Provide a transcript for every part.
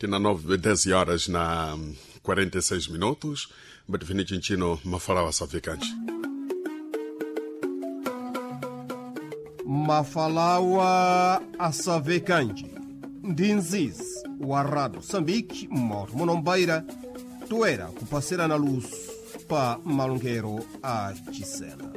Tina 9, 10 horas na 46 minutos. Batifini chinchino mafalawa safikanji. Mafalawa Asavekanji ndi nzizi wa Rádio Moçambique moto monombeira toera kupasirana luso pa malongero a Chisena.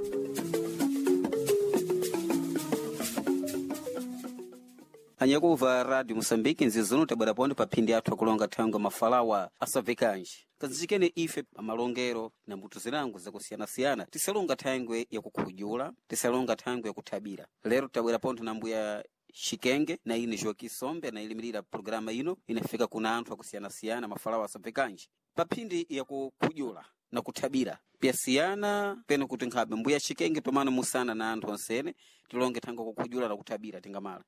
Anyakuva Radio Moçambique nzizuno tabwera pondo pa phindi athu akulonga thangwe mafalawa asavekanji kazichikene ife pamalongero na mbuto zinango zakusiyanasiyana tisalonga thangwe yakukhujula tisalonga thangwe yakuthabira lero tabwera pontho na mbuya Xikenge na ine Joaquim Sombe anayilimirira programa ino inafika kuna anthu akusiyanasiyana mafalawa asavekanji pa phindi yakukhujula na kuthabira pyasiyana pene kuti nkhabe mbuya Xikenge tomano musana na anthu onsene tilonge thangwe kukhujula na kuthabira tingamala.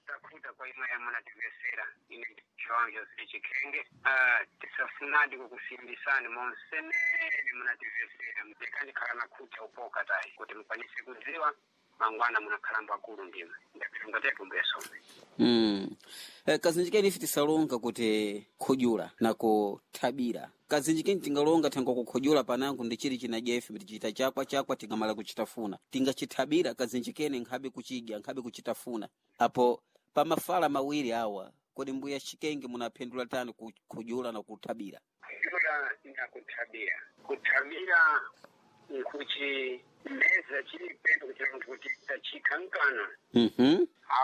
Takhuta kwa imwe yamunativesera ine João José Chikenge. Tisafunadi kukusimbisani monsenene munativesera mtekandikhala nakhuta upoka tayi kuti mukwanise kudziwa mangwana munakhala mbwakulu ndima ndapilonga tetu mbuya sombe. Kazinjikeni ife tisalonga kuti khujula na kuthabira kazinjikeni tingalonga thangwa kukhujula panango ndi chili chinadya ife tichita chakwa chakwa tingamala kuchitafuna tingachithabira kazinjikeni nkhabe kuchidya nkhabe kuchitafuna apo pamafala mawiri awa kodi mbuya Xikenge munaphendula tani kukhujula na kuthabira? Kujula na kuthabira, kuthabira nkuchi meza chili pendo kuchira munthu kuti tachikhankana.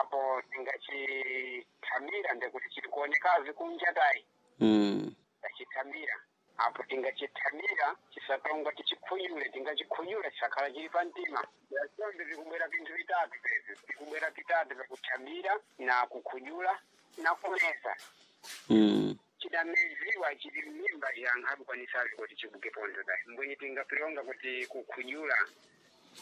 Apo tingachithamira ndekuti chili kuonekazi kunja tayi. Tachithamira apo tingachithamira chisatonga tichikhunyule tingachikhunyula chisakhala chili pa mtima yasonde vikubwera vinthu vitatu pevi vikubwera vitatu vyakuthamira na kukhunyula na kumeza. Chidameziwa chili m'mimba yankhabe kuti chibuke pondo tayi mbwenye tingapilonga kuti kukhunyula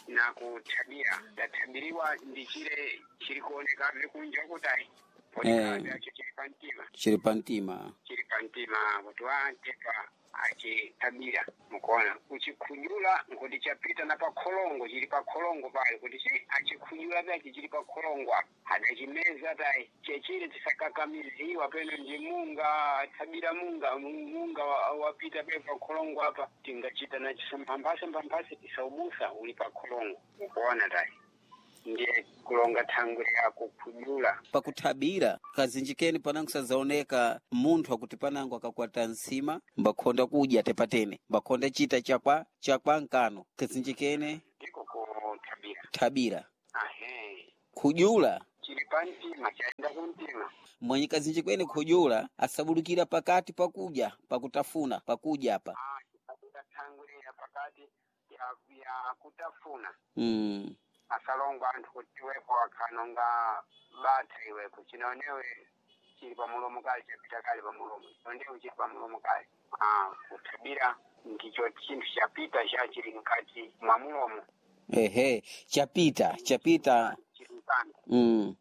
na kuthabira tathabiriwa ndi chile chili kuonekabe kunja kutayi ponekabe acho chili pa mtima. Chili pa mtima. Chili pa mtima kuti wantepa achithabira mukuona kuchikhunyula nkuti chapita na pakholongo chili pakholongo pali kuti chi achikhunyula pachi chili pakholongo apo adachimeza tayi chechile chisakakamiziwa peno ndi munga athabira munga munga wapita pe pakholongo apa tingachita na chisamphamphase mphamphase tisaubusa uli pakholongo mukuona tayi ndiye kulonga thangwe yako khunyula. Pakuthabira kazinjikeni panango sazaoneka munthu akuti panango akakwata nsima mbakhonda kudya tepatene mbakhonda chita chakwa chakwa nkano kazinjikene ndiko kuthabira thabira. Ahe. Khujula chili pa mtima chaenda kumtima. Mwenye kazinjikweni khujula asabulukira pakati pakudya pakutafuna pakudya apa. Chisabuda thangwe ya pakati ya kutafuna. Asalongwa anthu kuti iwepo akhanonga batha iwepo chinaonewe chili pamulomo kale chapita kale pamulomo chinaonewe chili pamulomo kale. Kuthabira ndicho chinthu chapita cha chili mkati mwa mulomo. Ehe, chapita chapita. Chili mkana.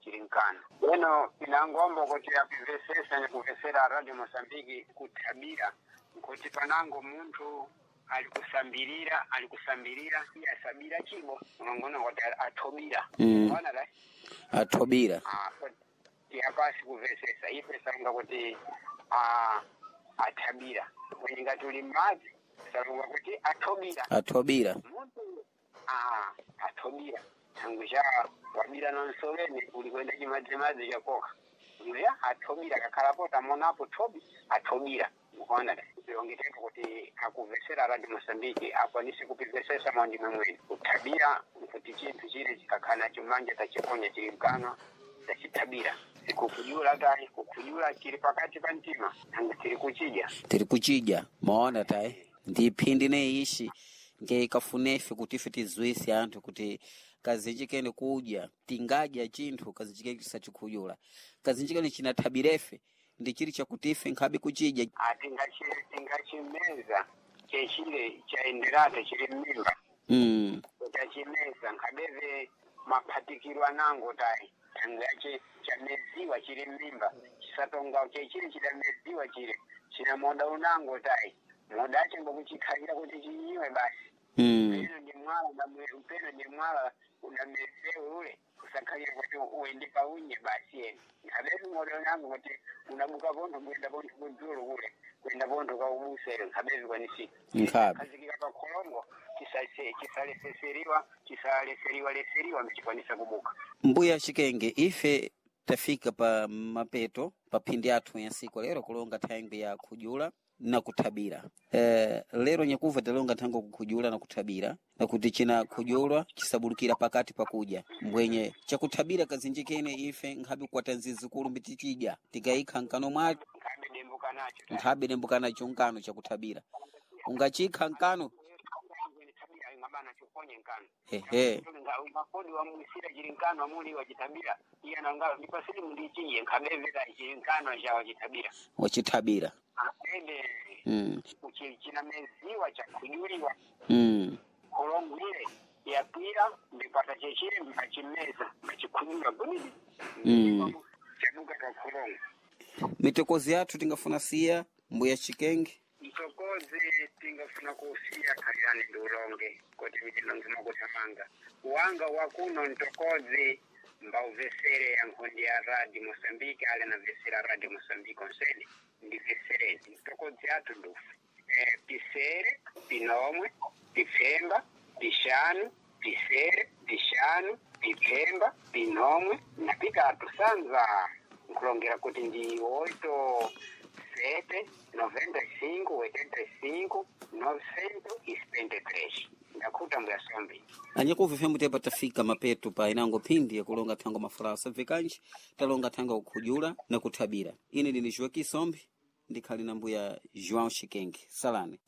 Chili mkana eno pinangombo kuti apivesesa nikuvesera Radio Mosambiki kuthabira nkuti panango munthu alikusambirira alikusambirira iye asabira chibo unongona kuti athobira. Ona la Athobira. Tiyapasi kuvesesa ife salunga kuti athabira kwenye ngati uli m'madzi salunga kuti athobira. Athobira. Munthu athobira thangwi cha wabira na nsoleni uli kwenda chimadzimadzi chakoka uya athobira kakhalapo tamonapo thobi athobira mukuona tilongetepo kuti akuvesera Radio Mosambiki akwanise kupivesesa maundime mwene kuthabira nkuti chinthu chile chikakhala nacho manja tachiponya chili mkanwa tachithabira sikukujula tayi kukujula chili pakati pa mtima nanga tili kuchidya. Tiri kuchidya maona tayi ndi phindi neishi ngeikafunefe kuti ife tizwise anthu kuti kazinjikeni kudya tingadya chinthu kazinjikeni tisachikhujula kazinjikeni chinathabirefe ndi chili chakuti ife nkhabe kuchidya. Tingachimeza chechile chaenderate chili m'mimba. Tachimeza nkhabeve maphatikiro anango tayi thangwe yache chameziwa chili m'mimba chisatonga chechile chidameziwa chile china moda unango tayi moda ache ngokuchikhalira kuti chinyiwe basi. Peno ni mwala peno ni mwala unamesewe ule kusakhalira kuti uende paunye basi ene nkhabetu ng'odo nangu kuti unabuka pontho kuyenda pontho kudzulu kule kuyenda pontho kaubusere nkhabetu kwanisika Nkhabe. khazikika pa kholongo chisaleseseriwa chisaleseriwa leseriwa mchikwanisa kubuka. Mbuya Chikenge, ife tafika pa mapeto pa phindi athu ya siku lero kulonga thangwi ya khujula na kuthabira. Lero nyakuva talonga thangwi kukhujula na kuthabira na kuti china khujulwa chisabulukira pakati pakudya mbwenye chakuthabira kazinjikene ife nkhabe kukwata nzizikulu mbitichidya tikayikha nkano mwake Nkhabe dembuka nacho nkhabe dembukanacho nkano chakuthabira ungachikha nkano. Ngabana chuponye nkano. Ehe. Makodi wamusira chili nkano amuli wachitabira iye ananga ndipasiri mundichiye nkhabevera chili nkano cha wachitabira Wachithabira. Ende chinameziwa chakujuliwa khulongwire yapira ndikwata chechile mbachimeza mbachikhujula gudidi chabuka pa khulongo. Mitokozi yathu tingafuna siya mbuya Chikenge. Mtokozi tingafuna kusiya khalirani ndi ulonge kuti mitilonge mwakutamanga wanga wakuno mtokozi mbauvesere ya nkhondi ya radio Mosambiki ale navesera radio Mosambiki onsene ndivesereni mtokozi athu ndufe pisere pinomwe pipfemba pixanu pisere pixanu pipfemba pinomwe na pitatu sanza nkulongera kuti ndi 8 7 95 85 973 ndakhuta mbuya sombi. Anyakuva fyambo tepa tafika mapeto pa inango phindi yakulonga thango mafulawa sabvekanji talonga thango kukhujula na kuthabira. Ine ndini Joaquim Sombi ndikhali na mbuya João Chikenge. Salani.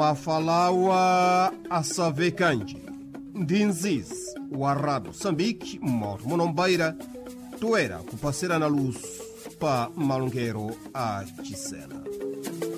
Mafalawa asavekanji ndi nzizi wa Rado Moçambique moto munombaira toera kupasirana luso pa malongero a Chisena.